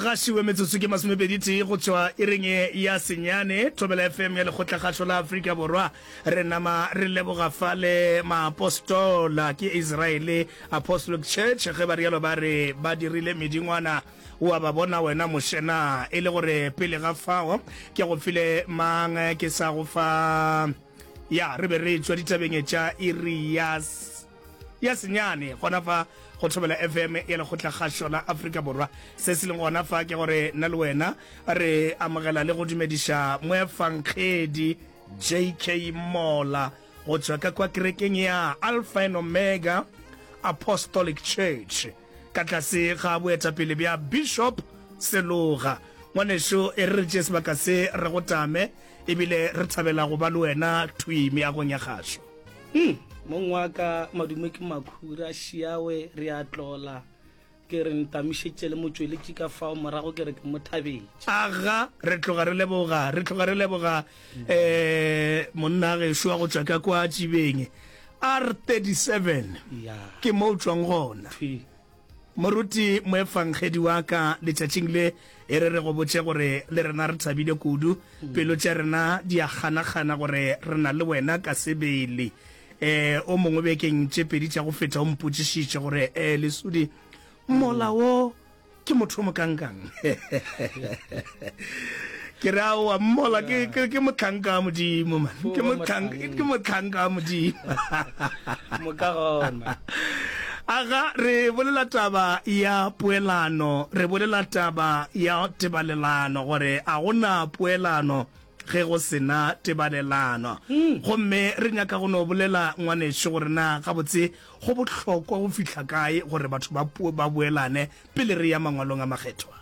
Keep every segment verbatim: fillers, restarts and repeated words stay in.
Gašiwe metsotso ke masomepedi tee go tšwa iring ya senyane, Thobela F M ya Lekgotlakgašo la Afrika Borwa. Re nama re leboga fale maapostola ke Israele Apostolic Church, ge ba rialo ba re ba dirile medingwana wa ba bona wena Moshe na e le gore pele ga fao ke go file mang ke sa go fa ya re be re tšwa ditabeng tša iri ya ya senyane gona fa go Thobela F M ya Lekgotlakgašo la Afrika Borwa. Se se leng gona fa ke gore nna le wena re amogela le go dumediša moefankgedi J K Mola go tšwa ka kwa kerekeng ya Alpha and Omega Apostolic Church ka tlase ga boetapele bja Bishop Seloga. Ngwanešo, e re re tšee sebaka se re go tame ebile re thabela go ba le wena thwi meagong ya kgašo. Hmm, mong wa ka, madume ke makhura šiawe re a tlola ke re ntamišetše le motšweletši ka fao morago ke re ke mo thabetše. Aga, re tloga re leboga, re tloga re leboga um monna gešo wa go tšwa ka kwa Tšibeng R thirty-seven ya ke mo o tšwang gona. Thwi. Moruti moefangedi wa ka, letšatšing le e re re go botše gore le rena re thabile kudu, pelo tša rena di a kganakgana gore re na le wena ka sebele. um o mongwe bekeng tše pedi tša go feta o mpotšišitše gore um Lesodi mola wo ke motho o mokankang. Ke re aowa, mmola ke ke ke mohlanka wa Modimo man, ke mohlanka ke mohlanka wa Modimo. Moka gona. Aga, re bolela taba ya poelano, re bolela taba ya tebalelano, gore a gona poelano ge go sena tebalelano. Gomme re nyaka go no bolela ngwanešo gore na gabotse go bohlokwa go fihla kae gore batho ba ba boelane pele re ya mangwalong a makgethwa.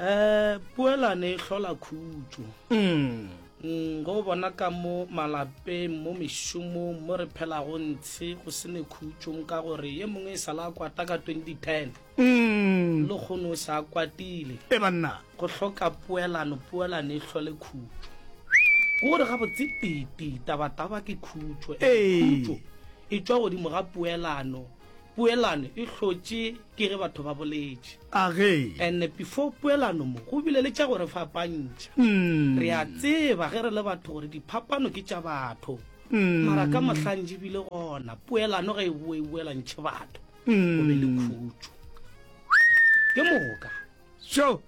um poelano e hlola khutšo. mm. Mm, go bona ka mo malapeng, mo mešomong mo re phelago ntshe go se ne khutšong ka gore ye mongwe e sala a kwata ka twenty ten, Mm. le kgono o sa kwatile. E banna. Go hloka poelano. Poelano e hlole khutšo, ke gore gabotse tete tabataba ke khutšo. Ee. Khutšo e tšwa godimo ga poelano. Poelano e hlotše ke ge batho ba boletše. Age. And before poelano mo go bile le tša gore fapantšha. mm. Re a tseba ge re le batho gore diphapano ke tša batho, Mm. mara ka mohlantši bile gona poelano ge e boe e boelantšhe batho go be le mm. khutšo ke moka. So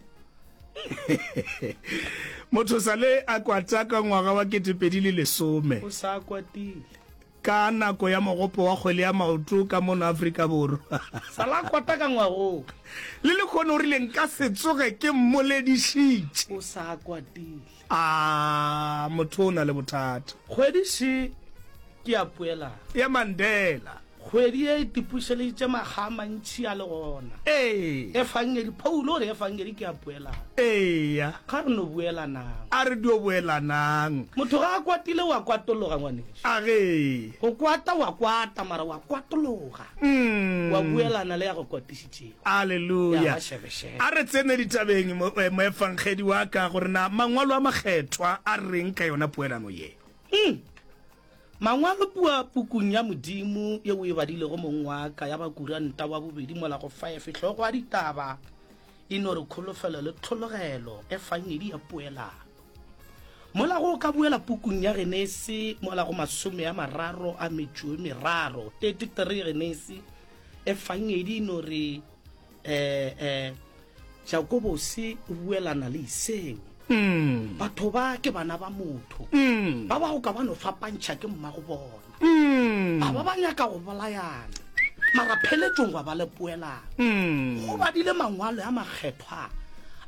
motho sale a kwata ka ngwaga wa ketepedi le lesome. O sa kwatile. Ka nako ya mogopo wa kgwele ya maoto ka mono Afrika Borwa. Sala kwata ka ngwagong. Le lekgono o rile nka se tsoge ke mmoledišitše. O sa kwatile. A motho o na le bothata. Kgwedi še ke ya poelano. Ya Mandela. Kgwedi e tipušeleditše makga a mantšhi a le gona. Ee. Efangedi, Paulo o re efangedi ke ya poelano. Eya. Ga re no boelanang. A re dio boelanang. Motho ga a kwatile wa kwatologa, ngwaneso. Age. Go kwata wa kwata, mara wa kwatologa, mm. wa boelana le ya go kwatišitšego. Alleluja. Ya ba šebešebe. A re tsene ditabeng moefangedi wa ka gore na mangwalo a makgethwa a reng ka yona poelano ye. Mm. Mangwalo pua pukung ya Modimo ye o e badilego mong wa ka ya Bakuranta wa bobedi mola go five hlogo ya ditaba e no re kholofelo le tlhologelo efangedi ya poelano. Mola go ka boela pukung ya Genesi mola go masome a mararo a metšo e meraro, thirty-three Genesi, efangedi e no re eh eh Jakobose o buelana le Iseo. mm. Batho ba ke bana ba motho, Mm. ba ba go ka ba no fapantšha ke mmago bona, Mm. ba ba ba nyaka go bolayana, mara pheletšong gwa ba le poelano. Mm. Go badile mangwalo a makgethwa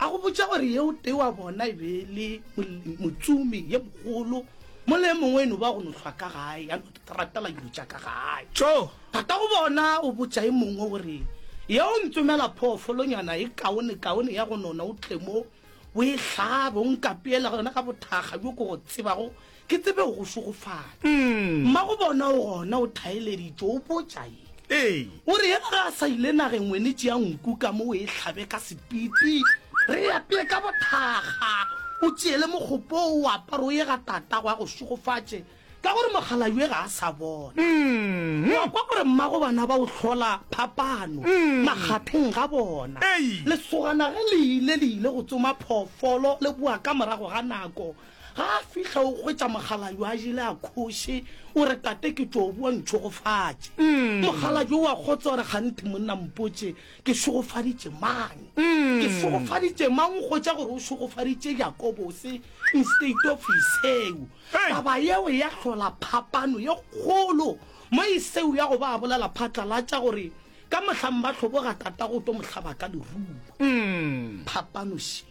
a go botša gore yeo tee wa bona e be le mol- motsumi ye mogolo, mola e mongwe e no ba go no hlwa ka gae ya no ratela dilo tša ka gae. Tšo. Tata go bona o botša e mongwe gore ye o ntsomela phoofolonyana e kaone kaone ya go nona, o tle mo o e hlabe, o nkapeela yona ka bothakga bjo ke go tsebago, ke tsebe go šogofatša. mm. Mmago bona o gona o thaeleditše, o botša ye Ee. o re yena ga a sa ile nageng, wene tšea nku ka mo o e hlabe ka sepiti, re apee ka bothakga, o tšeele mokgopo o apare o ye ga tatago a go šogofatše, Ka gore mokgalabje ga a sa bona. Mm. Wa kwa gore mmago bana ba o hlola phapano Mm. makgatheng ga bona. Ei. Lesogana ge le ile le ile go tsoma phoofolo le boa ka morago ga nako. Ga a fihla o hwetša mokgalabje a jele a khoše, o re tate ke tšo boa ntšhogofatše. Mm. Mokgalabje o a kgotsa o re kganthe monna mpotše ke šogofaditše mang? Mm. Ke šogofaditše mang? O hwetša gore o šogofaditše Jakobose instead of Esau. Hey. Taba yeo ya hlola phapano ye kgolo mo Esau ya go ba a bolela phatlalatša gore ka mohlang ba hloboga tatago o tlo mo hlaba ka lerumo. Mm. Phapano še.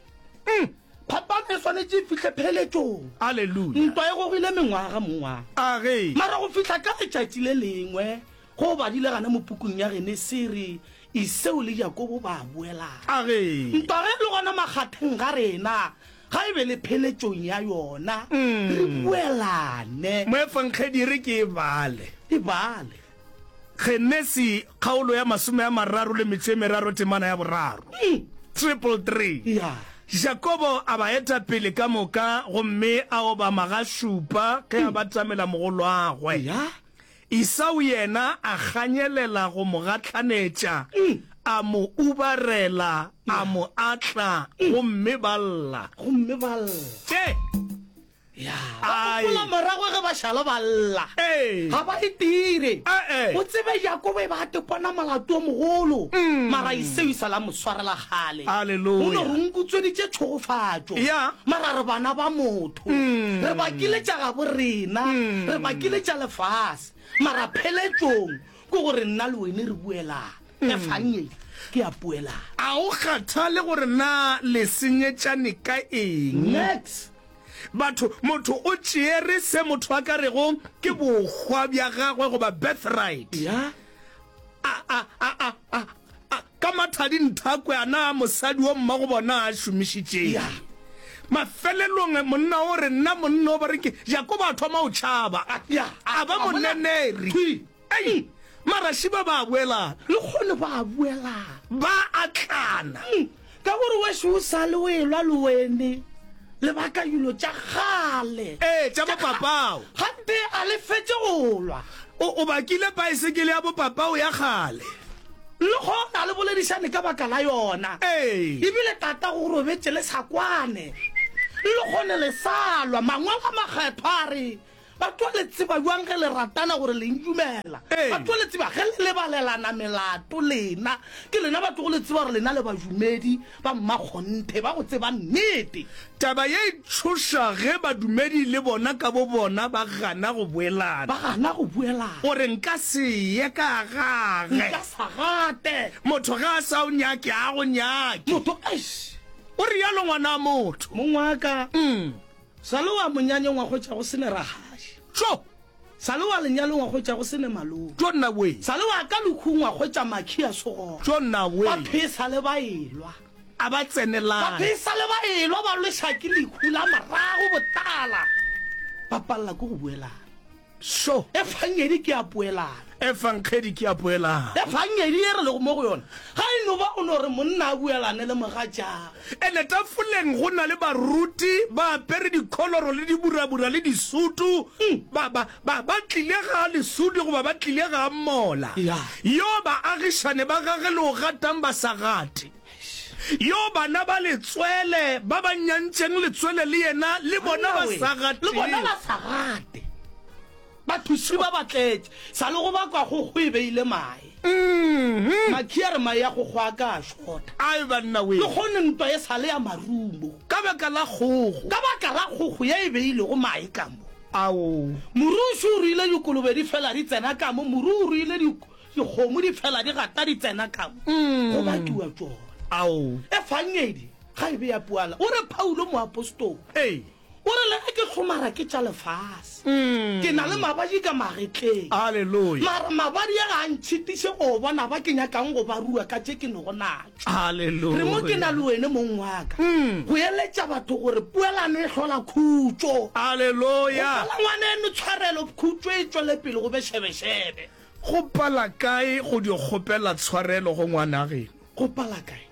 Phapano e swanetše e fihle pheletšong. Alleluia. Ntwa e gogile mengwaga mongwaga. A ge. Mara go fihla ka letšatši le lengwe go badile gana mo pukung ya Genesi re Esau le Jakobo ba boelana. A ge. Ntwa ge e le gona makgatheng ga rena ga e be le pheletšong ya yona, re boelane. Moefangedi re ke e bale. E bale. Genesi kgaolo ya masome a mararo le metšo e meraro temana ya boraro. Triple three. Ya. Jakobo a ba eta pele ka moka gomme a obama ga šupa ge a batamela mogolwagwe. Ya. Esau yena a ganyelela go mo gahlanetša, a mo ubarela, a mo atla, gomme ba lla. Gomme ba lla. Tše. Ya. Ba gopola morago ge ba šala ba lla. Ee. Ga ba e dire. Ee. O tsebe Jakobo e ba a tepona molato o mogolo. Mara Esau e sa la mo swarela kgale. Alleluia. O no re nkutsweditše tšhogofatšo. Ya. Mara re bana ba motho. Re bakile tša gabo rena. Re bakile tša lefase. Mara pheletšong ke gore nna le wene re buelana. Efangedi ke ya poelano. A o kgathale gore na le senyetšane ka eng? Next. Batho, motho o tšeere se motho a ka rego ke bohwa bja gagwe goba birthright. Ya. A, a, a, a, a, a, ka mathadi nthakwe a na mosadi wa mmago bona a šomišitšeng. Ya. Mafelelong monna o re nna monna o ba re ke Jakobo a thoma o tšhaba. Ya. A ba moneneri. Thwi. Ei, maraši ba ba boelana. Le kgone ba boelana. Ba atlana. Ka gore wešo o sa le o elwa le wene. Le baka dilo tša kgale. Ee, tša bopapao. Gante a le fetše go lwa. O, o bakile paesekele ya bopapao ya kgale. Le gona le boledišane ka baka la yona. Ee. Ebile tata go robetše le sa kwane. Le kgone le sa lwa. Mangwalo a makgethwa a re batho le tseba jwang ge le ratana gore le ndumela. Ee. Batho le tseba ge le lebalelana melato lena. Ke lena batho go le tseba gore lena le badumedi ba mmakgonthe ba go tseba nnete. Taba ye e tšhoša ge badumedi le bona ka bo bona ba gana go boelana. Ba gana go boelana. Gore nka se ye ka gage. Nka sa gate. Motho ga a sa o nyake, a go nyake. Motho, eish. O rialo ngwana motho. Mong wa ka. Mm. Sa le wa monyanyeng wa hwetša go sene ragaši. Tšo. Sa le wa lenyalong wa hwetša go sene malome. Tšo nna we. Sa le wa ka lekhung wa hwetša makhi a segona. Tšo nna we. Batho e sa le ba elwa. A ba tsenelane. Batho e sa le ba elwa ba lweša ke lehu la morago botala. Ba palela ke go boelana. So. Efangedi ke ya poelana. Efangedi ke ya poelana. Efangedi e re lego mo go yona. Ga e no ba o no re monna a buelane le mogatšagwe. Ene tafoleng go na le baruti ba apere dikholoro le diburabura le disutu. Ba, ba, ba, ba tlile ga lesudi goba ba tlile ga mola. Ya. Yo baagišane ba gage le o gatang ba sa gate. Yo bana ba letswele ba ba nyantšeng letswele le yena le bona ba sa gate. Le bona ba sa gate. Bathuši ba ba tletše. Sa le go bakwa kgogo e beile mae. Mm-hmm. Makhi a re mae a kgogo a ka a shota. Ai banna we. Le kgone ntwa e sa le ya marumo. Ka baka la kgogo. Ka baka la kgogo ye e beilego mae ka mo. Ao. Moruši o ruile dikolobe di fela di tsena ka mo. Moru o ruile dikgomo di fela di gata di tsena ka mo. Go bakiwa tšona. Ao. Efangedi ga e be ya poala. O re Paulo moapostola. Ee. O re le ge ke hlomara ke tša lefase. Mm. Ke na le mabadi ka magetleng. Hallelujah. Mara mabadi a ga a ntšhitiše go bona ba ke nyakang go ba rua ka tše ke nego natšo. Hallelujah. Re mo ke na le wene mong wa ka. Mm. Go eletša batho gore poelano e hlola khutšo. Hallelujah. Go pala ngwaneno tshwarelo, khutšo e tšwele pele go be šebešebe. Go pala kae go di kgopela tshwarelo go ngwana geno? Go pala kae?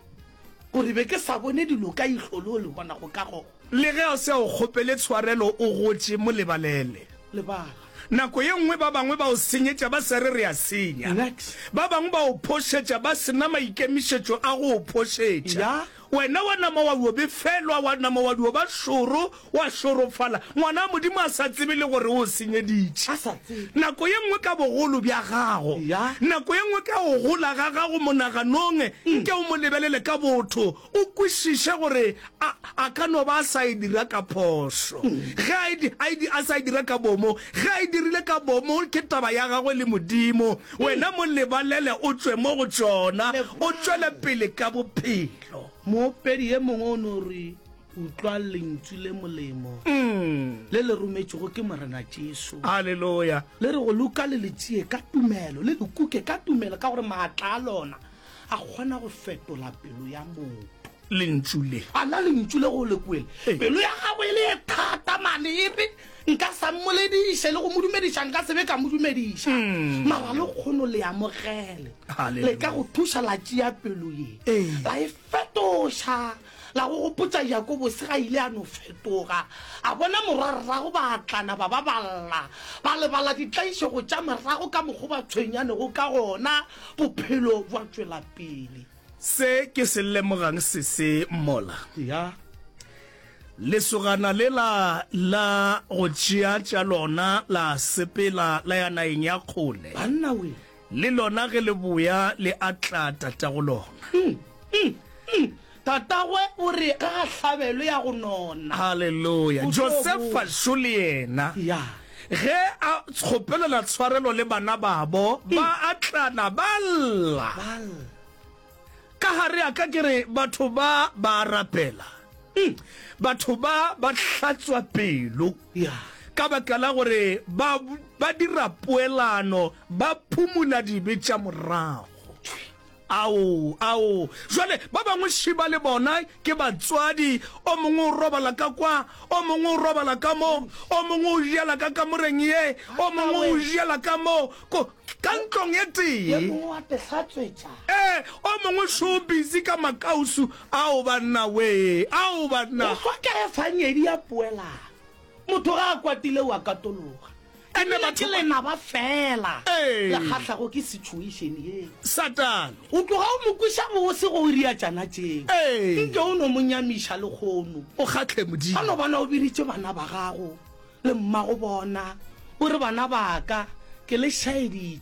Gore be ke sa bone dilo ka ihlo le o le bona go ka gona. Le ge a se a o kgopele tshwarelo o gotše mo lebalele. Lebala. Nako ye nngwe ba bangwe ba o senyetša ba sa re re a senya. Next. Ba bangwe ba o phošetša ba se na maikemišetšo a go o phošetša. Ya. Wena wa nama wa dio befelwa, wa nama wa dio ba šoro, wa šorofala, ngwana wa Modimo a sa tsebe le gore o o senyeditše. A sa tsebe. Nako ye nngwe ka bogolo bja gago, Ya. nako ye nngwe ka go gola ga gago monaganong, nke o mo lebelele ka botho, o kwešiše gore a, a ka no ba a sa e dira ka phošo. Ge a e, a e, a sa e dira ka bomo, ge a e dirile ka bomo, ke taba ya gagwe le Modimo. Wena mo lebalele o tšwe mo go tšona, o tšwele pele ka bophelo. Moopedi ye mongwe o no re, Utlwa lentšu le molemo le le rometšwego ke Morena Jesu. Haleluya. Le re go loka le le tšee ka tumelo, le le kuke ka tumelo, ka gore maatla a lona a kgona go fetola pelo ya motho. Lentšu le. A na lentšu le go le kwele? Pelo ya gago e le ye thata mane, e re, Nka sa mmolediše, le go mo dumediša nka se be ka mo dumediša. Mara lekgono le amogele. Le ka go thuša la tšea pelo ye, la e fetoša, la go gopotša Jakobose ga ile a no fetoga. A bona morwarrago ba atlana ba ba ba lla, ba lebala ditlaišego tša morago ka mokgo ba tshwenyanego ka gona, bophelo bja tšwela pele. Se ke se lemogang sese mola. Ya. Lesogana lela la go tšea tša lona la sepela la ya nageng ya kgole. Banna we! Le lona ge le boya le atla tatago lona. Mm, mm, mm. Tatagwe o re ga a hlabelwe ya go nona. Haleluya! O tlo Josefa boa. šo le yena, Ya. ge a kgopelela tshwarelo le bana babo, ba atlana ba lla. Ba lla. Ka gare a ka ke re batho ba ba a rapela. Batho ba ba hlatswa pelo Ya. ka baka la gore ba ba dira poelano, ba phumula dibe tša morago. Ao, ao. Jwale ba bangwe šiba le bona ke batswadi, o mongwe o robala ka kwa, o mongwe o robala ka mo, o mongwe o jela ka kamoreng ye, o mongwe o jela ka mo, ko, ka ntlong e tee. Ye mongwe wa te hlatswetša. Ee, o mongwe šo busy ka makausu. Ao banna wee, ao banna. Go hloka efangedi ya poelano. Motho ga a kwatile o a katologa. Ene Ebile batho ke ba. lenaba fela Ee. le kgahlago ke situation yeo. Satane. O tloga o mo kweša bose go o ria tšana tšeo. Ee. Nke o no mo nyamiša lekgono. O kgahle Ba Modimo. no bona o biditše bana ba gago le mmago bona, o re, Bana ba ka, ke le šaeditše.